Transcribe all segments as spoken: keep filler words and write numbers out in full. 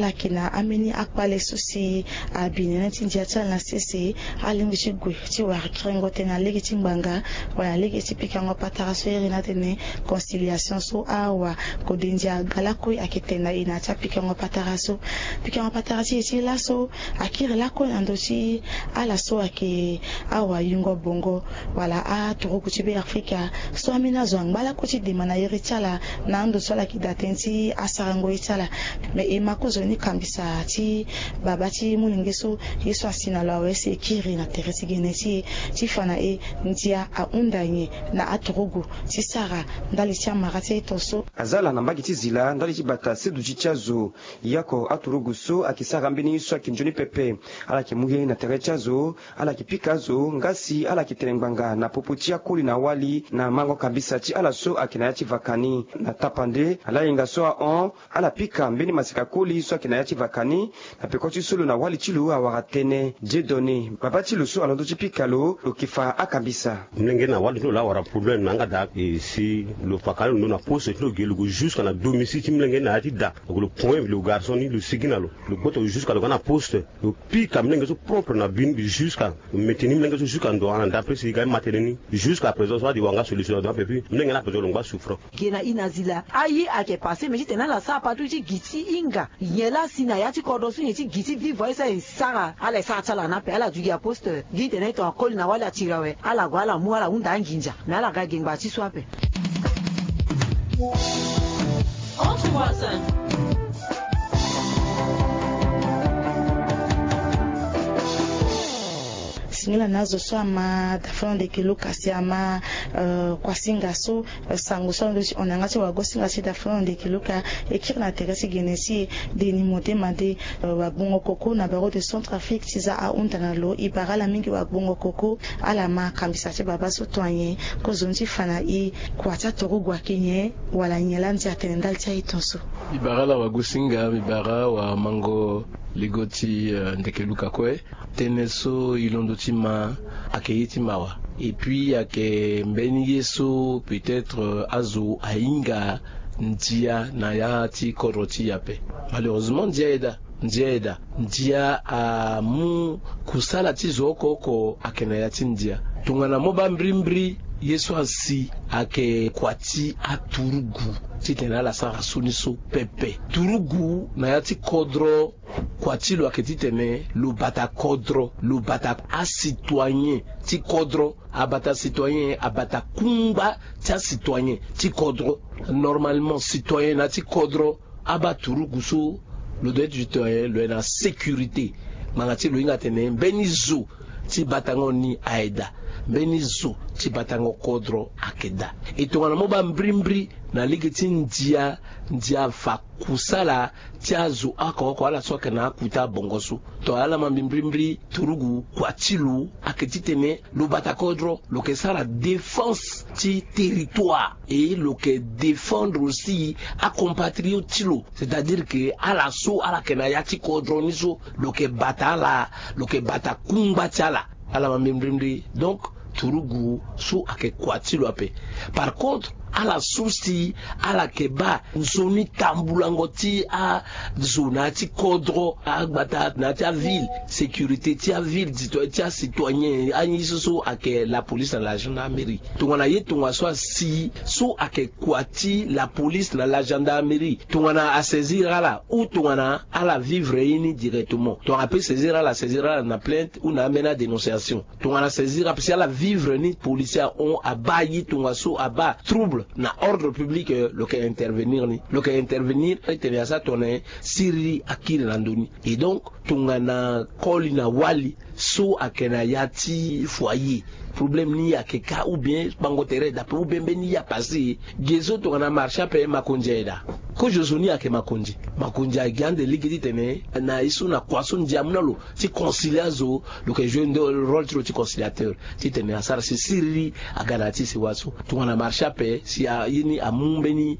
Ala yeke na ambeni akpale so si abi nene ti ndia ti ala na sese. Alingbi ti gue ti wara kiringo tënë na lege ti ngbanga wala na lege ti pikango patara so iri ni atene conciliation so awa. Kode ndia aga lakue ayeke tene na e na ya ti apikango patara so. Pikango patara ti e ti laso akiri lakue na ndö ti ala so ayeke awa yungo bongo wala aturugu ti Beafrika so ambeni azo angba lakue ti dema na iri ti ala na ando so ala yeke daa tënë ti asarango ye ti ala. Me e ma kozoni kambisa ti baba ti molenge so ye so asi na lo awe si e kiri na tere ti gene ti e ti fa na e ndia ahunda nyen na aturugu ti sara ndali ti amara ti aye to so. Aza ala na mbage ti zila ndali ti bata seduti ti azo. Yako aturugu so ayeke sara mbeni ye so ayeke nzoni pepe. Ala yeke mu ye na tere ti azo. Ala yeke pika azo nga si ala yeke tene ngbanga na popo ti akoli na wali na mango kambisa ti ala so ayeke na ya ti vaka ni. Na tapande ala hinga so ahon ala pika mbeni maseka koli so ayeke na ya ti vaka ni. Na peko ti so lo na wali ti lo awara tënë. Dieudonné, baba ti lo so alondo ti pika lo, lo yeke fa akambisa. Mlenge na wali ti lo laa awara problème na yanga daa. E si lo fa kala lo ndo na poste ti lo ge lo gue jusqu'à na domicile ti mlenge na ya ti da. Donc lo point lo garçon ni lo sigi na lo. Lo gboto jusqu'à lo ga na poste. Lo pika mlenge so propre na bi ni jusqu'à lo maintenir mlenge so jusqu'à ndo ana d'après si ga ma tënë ni. Jusqu'à présent so adi wanga solution na ndo ape puis mlenge ni ape so lo ngba souffrant. Ge na i na zila aye ayeke passé mais titene ala sara patrouille ti gi ti hinga. Nyen laa si na ya ti kodro so nyen ti gi ti vivre so aye sara ala e sara ti ala na ape ala dugi aposte gi titene tongana koli na wali atiri awe ala gue ala mu ala hunda anginza. Mais ala ga gengba ti so ape. Entre voisins. Singila na azo so ama dafano ndeke luka si ama kuasinga so sango so alondo ti hon na yanga ti wagosinga ti dafano ndeke luka. E kiri na tere ti gene ti e deni mode made. Wagbongo koko na baro de centre afrique ti za ahunda na lo e bara ala mingi wagbongo koko. Ala ma kambisa ti baba so to anyen kozoni ti fa na e kua ti aturugu ayeke nyen wala nyen laa ndia atene ndali ti aye ton so. Mbi bara ala wagosinga mbi bara wamango lego ti ndeke luka kue. Tënë so e londo ti ma ayeke ye ti mawa. Et puis ayeke mbeni ye so peut-être azo ahinga ndia na ya ti kodro ti e ape. Malheureusement ndia aye daa. Ndia aye daa. Ndia amu kusala ti zo oko oko ayeke na ya ti ndia. Tongana mo baa mbirimbiri ye so asi ayeke kua ti aturugu titene ala sara so ni so pepe turugu na ya ti kodro. Kua ti lo ayeke titene lo bata kodro lo bata asitoyen ti kodro. Abata sitoyen abata kungba ti asitoyen ti kodro. Normalement sitoyen na ya ti kodro abaa turugu so lo doit ti sitoyen lo yeke na sécurité. Ngbanga ti lo hinga atene mbeni zo ti batango ni aye daa. Mbeni zo ti batango kodro ayeke daa. E tongana mo baa mbirimbiri na lege ti ndia ndia fa kusala ti azo oko oko ala so ayeke na akuta bongo so. To ala ma mbi mbirimbiri turugu kua ti lo ayeke titene lo bata kodro lo yeke sara défense ti territoire. Et lo yeke défendre aussi acompatriote ti lo c'est-à-dire que ala so ala yeke na ya ti kodro ni so lo yeke bata ala lo yeke bata kungba ti ala. Ala ma mbi mbirimbiri donc turugu so ayeke kua ti lo ape. Par contre ala so si ala yeke baa nzoni tambulango ti azo na ya ti kodro agbata na ya ti aville sécurité ti aville ti acitoyen aye so so ayeke la police na la gendarmerie. Tongana ye tongaso asi so ayeke kua ti la police na la gendarmerie tongana asaisir ala ou tongana ala vivre ye ni directement tongana ape saisir ala saisir ala na plainte ou na ambeni adénonciation. Tongana saisir ape si ala vivre ni policier ahon abaa ye tongaso abaa trouble na ordre public lo yeke intervenir ni lo yeke intervenir. Etene asara tongana siriri akiri na ndö ni. Et donc tongana koli na wali so ayeke na ya ti foyer problème ni ayeke ka ou bien bango tere dape ou bien mbeni ye apasse. Ge so tongana marché ape makonzi aye daa. Kozo so ni ayeke makonzi makonzi agi ande lege titene na ye so na kua so ndia amu na lo ti concilier azo. Lo yeke jouer nde rôle ti lo ti conciliateur titene asara si siriri aga na ya ti sewa so. Tongana marché ape si aye ni amu mbeni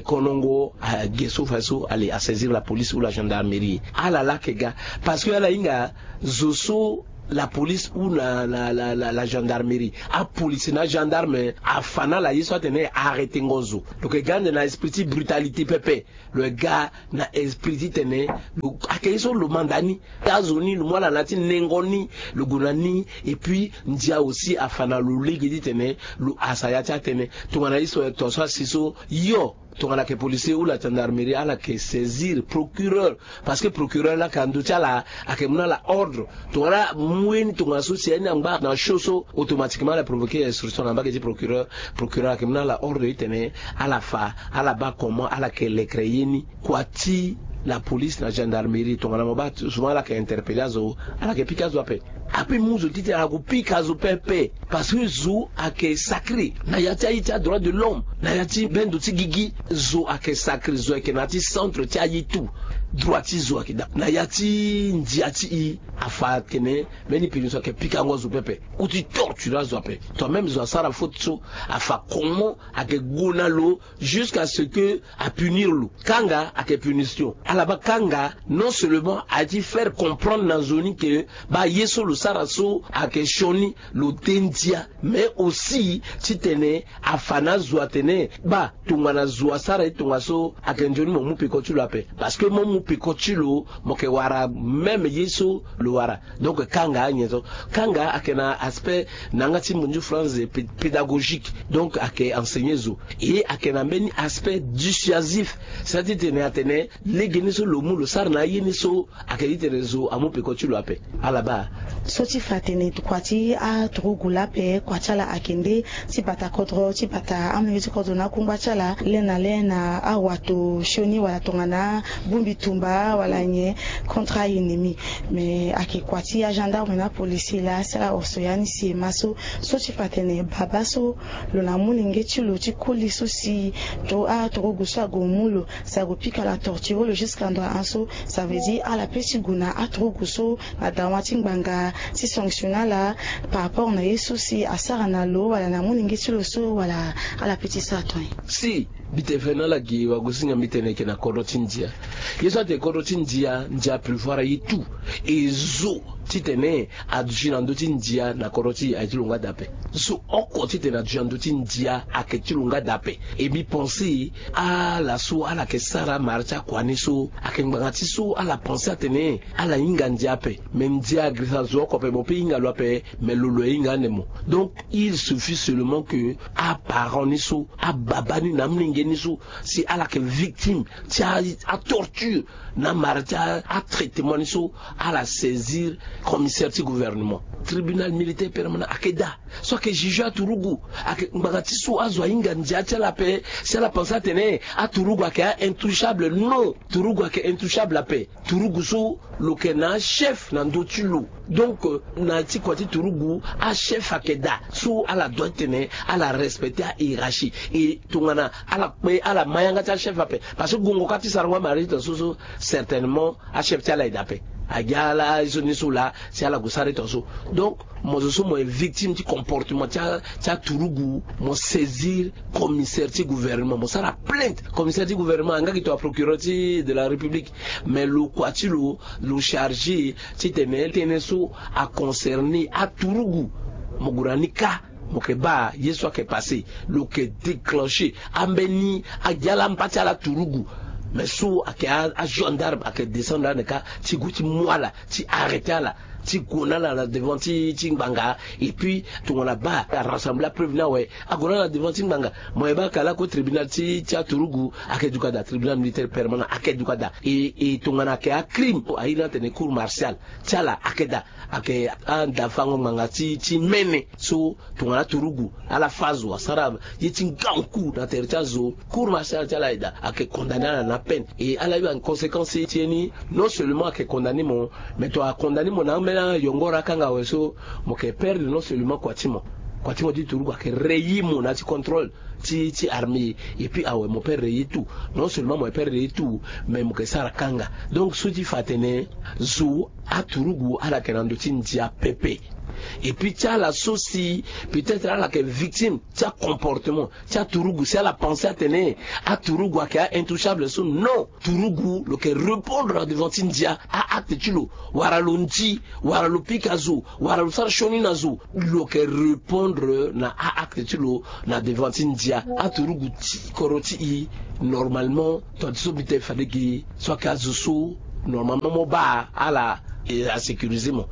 konongo age so fa so ale asaisir la police ou la gendarmerie. Ala laa ayeke ga parce que ala hinga zo so la police ou na, na, na, na la gendarmerie. Apolice na gendarme afa na ala ye so atene arrêtengo zo. Donc e ga ande na esprit ti brutalité pepe. Lo e ga na esprit titene lo ayeke ye so lo manda ni. Azo ni lo mu ala na ya ti nengo ni, lo gue na ni. Et puis ndia aussi afa na lo lege titene lo hasa ya ti atënë. Tongana ye so, tongaso asi so yo, tongana ayeke policier ou la gendarmerie, ala yeke saisir procureur. Parce que procureur laa ayeke na ndö ti ala, ayeke mu na ala ordre. Tongana amu ye ni tongana so si aye ni angba na show so, automatiquement ala provoquer instruction na mbage ti procureur. Procureur ayeke mu na ala ordre titene ala fa, ala baa comment ala yeke lekere ye ni. Kua ti la police na gendarmerie, tongana mo baa souvent ala yeke interpeller azo, ala yeke pika azo ape. Ape mu zo ti tene ala gue pika zo pepe. Parce que zo ayeke sacré na ya ti aye ti adroit de l'homme, na ya ti bendo ti gigi. Zo ayeke sacré, zo ayeke na ya ti centre ti aye tout. Droit ti zo ayeke daa na ya ti ndia ti e. Afa atene mbeni punition ayeke pikango azo pepe. Ou ti torture azo ape. Toi même zo asara faute so, afa comment ayeke gue na lo jusqu'à ce que apunir lo. Kanga ayeke punition. Ala baa kanga non seulement aye ti faire comprendre na zo ni que baa ye so lo sara so ayeke sioni, lo te ndia. Mais aussi titene afa na azo atene baa tongana zo asara ye tongaso, ayeke nzoni mo mu peko ti lo ape. Parce que mo mu peko ti lo, mo yeke wara même ye so lo wara. Donc kanga anyen so. Kanga ayeke na aspect na yanga ti munzu France pé-, pédagogique. Donc ayeke enseigner zo. Et ayeke na mbeni aspect dissuasif. C'est-à-dire titene atene lege ni so lo mu lo sara na aye ni so, ayeke titene zo amu peko ti lo ape. Ala baa. So ti fa atene kua ti aturugu laa ape, kua ti ala ayeke nde ti bata kodro, ti bata amolenge ti kodro na akungba ti ala, le na le na awato sioni wala tongana bongbi tumba wala nyen contre a-ennemi. Mais ayeke kua ti agendarme na apolicier laa si ala oso ya ni si e ma so. So ti fa atene baba so lo na amolenge ti lo ti koli so si to aturugu so ague mu lo, si ague pika lo, atorture lo jusqu'à ndo a an so. Ça veut dire ala pe ti gue na aturugu so na dawa ti ngbanga ti sanctionner ala par rapport na ye so si asara na lo wala na amolenge ti lo so, wala ala pe ti sara tongana nyen? Si, mbi tene fade na ala gi wagosinga, mbi tene e yeke na kodro ti ndia. Ye so atene kodro ti ndia, ndia prévoir aye tout. E zo titene aduti na ndö ti ndia na kodro ti e, aye ti lo nga daa ape. Zo oko titene aduti na ndö ti ndia ayeke ti lo nga daa ape. E mbi pense ala so ala yeke sara mara ti akua ni so ayeke ngbanga ti so ala pense atene ala hinga ndia ape. Me ndia agirisa zo oko ape, mo pe hinga lo ape. Me lo lo ahinga ande mo. Donc il suffit seulement que aparent ni so, ababa ni na amolenge ni so, si ala yeke victime ti a, atorture na mara ti a, atraitement ni so, ala saisir commissaire ti gouvernement. Tribunal militaire permanent ayeke daa. So ayeke juger aturugu. Ayeke ngbanga ti so azo ahinga ndia ti ala ape. Si ala pense atene aturugu ayeke a-intouchable, non. Turugu ayeke intouchable ape. Turugu so lo yeke na achef na ndö ti lo. Donc, euh, na ya ti kua ti turugu, achef ayeke daa. So ala doit titene ala respecter ahiérarchie. E tongana ala kpe, ala ma yanga ti achef ape. Parce que gongo kâ ti sarango amara ti tongaso so, certainement achef ti ala aye daa ape. Agi ala ye so ni so laa si ala gue sara ye tongaso. Donc mo zo so mo ye victime ti comportement ti a, ti aturugu, mo saisir commissaire ti gouvernement, mo sara plainte. Commissaire ti gouvernement, anga gi to aprocureur ti de la République. Mais lo kua ti lo, lo chargé titene tënë so aconcerner aturugu. Mo gue na ni kâ, mo yeke baa ye so ayeke passé. Lo yeke déclencher ambeni agi ala mba ti ala aturugu. Mais so ayeke a, agendarme ayeke descendre ande kâ ti gue ti mu ala, ti arrêter ala, ti gue na ala na devant ti, ti ngbanga. Et puis tongana baa arassembler apreuve ni awe, ague na ala na devant ti ngbanga. Mo yeke baa ka lako tribunal ti, ti aturugu ayeke duka daa, tribunal militaire permanent ayeke duka daa. E, e tongana ayeke acrime, airi ni atene cour martiale ti ala ayeke daa. Ayeke andafango ngbanga ti, ti mene. So tongana aturugu, ala fâ zo, asara ye ti ngangu na tere ti azo, cour martiale ti ala aye daa, ayeke condamner ala na peine. E ala ye en conséquence ti ye ni, non seulement ayeke condamner mo, mais to acondamner mo na ambeni ayongoro akanga awe so, mo yeke perdre non seulement kua ti mo, kua ti mo ti turugu ayeke rayer mo na ya ti contrôle ti ti armée. Et puis awe mo perdre ye tout. Non seulement mo perdre ye tout, mais mo ke sara kanga. Donc so ti fa atene zo aturugu ala yeke na ndo ti ndia pepe. Et puis ti ala so si peut-être ala yeke victime ti acomportement ti aturugu, si ala pense atene aturugu ayeke a-intouchable so, non. Turugu lo yeke répondre na devant ti ndia a-acte ti lo, wala lo ndi, wala lo pika zo, wala lo sara sioni na zo, lo yeke répondre na a-acte ti lo na devant ti ndia. Aturugu ti kodro ti i, normalement, tonga ti so mbi tene fade gi so ayeke azo so normalement mo baa ala, e, asécuriser mo.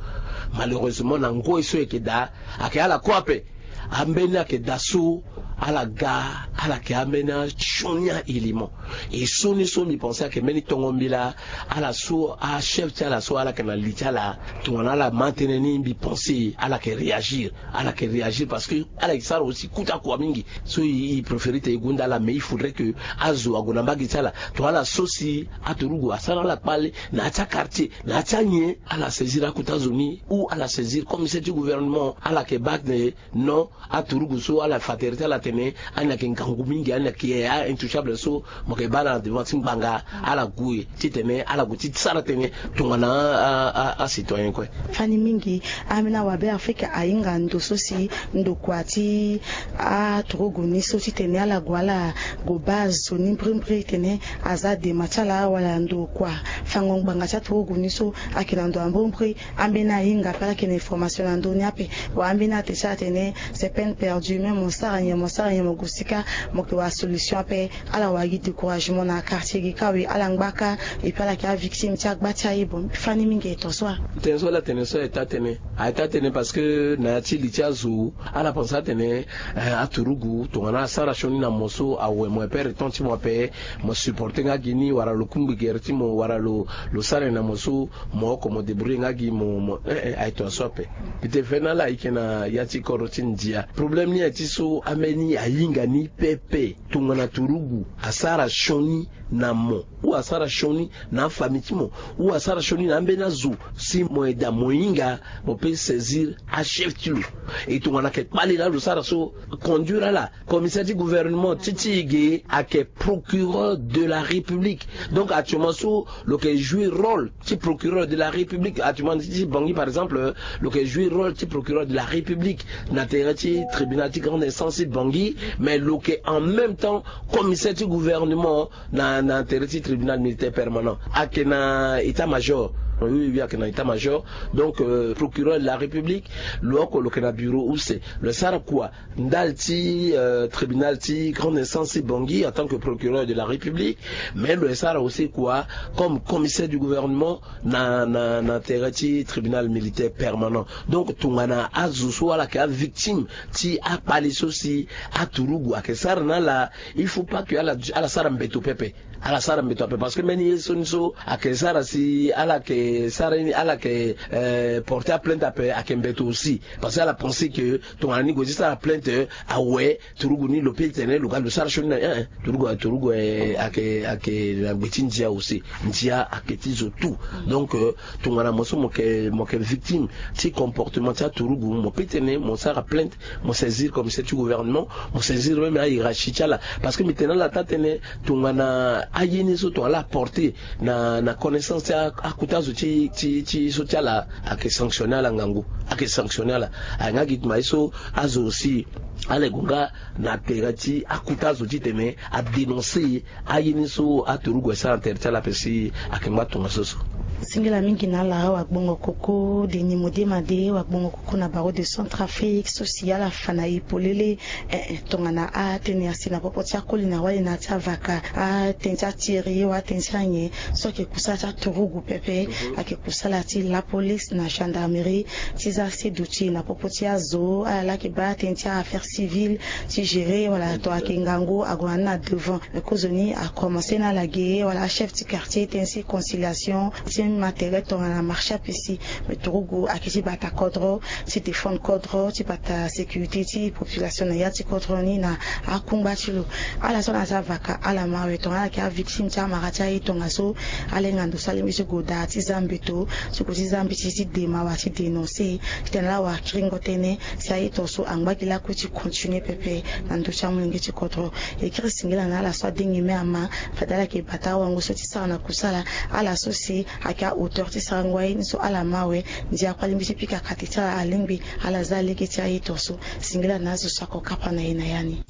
Malheureusement na ngoi so e yeke daa, ayeke ala kue ape. Ambeni ayeke daa so ala ga, ala yeke ambeni asioni a-élément. E sioni so mbi pense ayeke mbeni tongo mbi laa, ala so achef ti ala so ala yeke na li ti ala, tongana ala ma tënë ni, mbi pense ala yeke réagir. Ala yeke réagir parce que ala yeke sara aussi kota kua mingi. So e, e préférer tene e gonda ala, mais il faudrait que azo ague na mbage ti ala. Tongana ala so si aturugu asara ala kpale na ya ti aquartier, na ya ti anyen, ala saisir akota zo ni, ou ala saisir commissaire ti gouvernement. Ala yeke baa tene non, aturugu so ala fa tere ti ala tene ani ayeke ngangu mingi, ani ayeke a-intouchable so, mo yeke baa ala na devant ti ngbanga, ala gue titene ala gue ti sara tënë tongana a, a, a, acitoyen kue. Fani mingi, ambeni awabe Afrika ahinga ndo so si ndokua ti aturugu ni so titene ala gue ala gue baa zo ni mbirimbiri tene aza dema ti ala wala ndokua fango ngbanga ti aturugu ni so ayeke na ndo ya mbirimbiri. Ambeni ahinga ape ala yeke na information na ndö ni ape. Wa ambeni ate ti ala tene c'est peine perdue, même mo sara nyen, mo sara nyen, mo gue sika, mo yeke wara solution ape. Ala wara gi découragement na quartier gi kâ, oui, ala ngba kâ. Et puis ala yeke avictime ti agba ti aye. Bon, fani mingi e to so wa. Tënë so ala tene so aye taa tënë, aye taa tënë parce que na ya ti li ti azo, ala pense atene, eh, aturugu tongana asara sioni na mo so, awe, mo perdre temps ti mo ape, mo supporter nga gi ni, wala lo kungbi gere ti mo, wala lo, lo sara nyen na mo so, mo oko mo débrouiller nga gi mo, mo, eh, eh, aye tongaso ape. Mbi tene fade na ala ayeke na ya ti kodro ti ndia. Problème ni aye ti so ambeni ahinga ni pepe. Tongana turugu asara sioni na mo, ou asara sioni na afamille ti mo, ou asara sioni na ambeni azo, si mo aida mo hinga, mo peut saisir achef ti lo. E tongana ayeke kpale laa lo sara so, conduire ala. Commissaire ti gouvernement ti ti e ge ayeke procureur de la République. Donc actuellement so lo yeke jouer rôle ti procureur de la République. Actuellement ti ti Bangui par exemple, lo yeke jouer rôle ti procureur de la République na tere ti tribunal ti grande instance ti Bangui, mais lo yeke en même temps commissaire ti gouvernement na, na tere ti tribunal militaire permanent. Ayeke na état-major. Oui, oui, ayeke na état-major. Donc, euh, procureur de la République, lo oko lo yeke na bureau use. Lo sara kua ndali ti, euh, tribunal ti grande instance ti Bangui en tant que procureur de la République, mais lo sara aussi kua comme commissaire du gouvernement na, na, na tere ti tribunal militaire permanent. Donc tongana azo so ala yeke avictime ti akpale so si aturugu ayeke sara na ala, il faut pas que ala, ala sara mbeto pepe. Ala sara mbeto ape parce que mbeni ye so ni so ayeke sara si ala yeke sara ni, ala yeke, eh, porter aplainte ape, ayeke mbeto aussi. Parce que ala pense que tongana ni gue ti sara plainte, eh, awe, turugu ni lo peut tene lo ga lo sara sioni na, eh, eh, turugu, turugu, eh, ayeke, ayeke na gbe ti ndia aussi. Ndia ayeke ti zo tout. Donc, euh, tongana mo so mo yeke, mo yeke victime ti comportement ti aturugu, mo peut tene mo sara plainte, mo saisir commissaire ti gouvernement, mo saisir même ahiérarchie ti ala. Parce que mbi tene na ala taa tënë, tongana aye ni so tongana ala porter na, na connaissance ti a, akota zo ti, ti, ti so ti ala, ayeke sanctionner ala ngangu, ayeke sanctionner ala. Aye nga gi tuma ye so azo aussi ala gue nga na tere ti akota zo titene adénoncer aye ni so aturugu asara na tere ti ala ape si ayeke ngba tongaso so. Singila mingi na ala, wagbongo koko Denis Modema de, wagbongo koko na Barreau de Centrafrique so si ala fa na e polele. Eh, eh, tongana atënë asi na popo ti akoli na wali na ya ti avaka, atënë ti atiri wala atënë ti anyen so ayeke kusala ti aturugu pepe. Mhm. Ayeke kusala ti lapolice na gendarmerie ti zia si duti na popo ti azo, ala laa ayeke baa atënë ti a-affaire civile ti gérer wala to ayeke ngangu ague na ni na devant. Me kozoni akomanse na ala ge wala achef ti quartier tënë ti conciliation ti Ma tere tongana marché apesi me turugu ayeke ti bata kodro ti défendre kodro ti bata sécurité ti population na ya ti kodro ni na akungba ti lo. Ala so ala za vaka ala mawe tongana ala yeke avictime ti amara ti aye tongaso, ala hinga ndo so alingbi ti gue daa ti za mbeto ti gue ti za mbeti ti dema wala ti dénoncer titene ala wara kiringo tënë si aye tongaso angba gi lakue ti continuer pepe na ndö ti amolenge ti kodro. E kiri singila na ala so adengi me ama fade ala yeke bata awango so ti sara na kusala. Ala so si ayeke ahauteur ti sarango aye ni so ala mawe. Ndia kue alingbi ti pika kate ti ala alingbi ala za lege ti aye tongaso. Singila na azo so ako kapa na e na ya ni.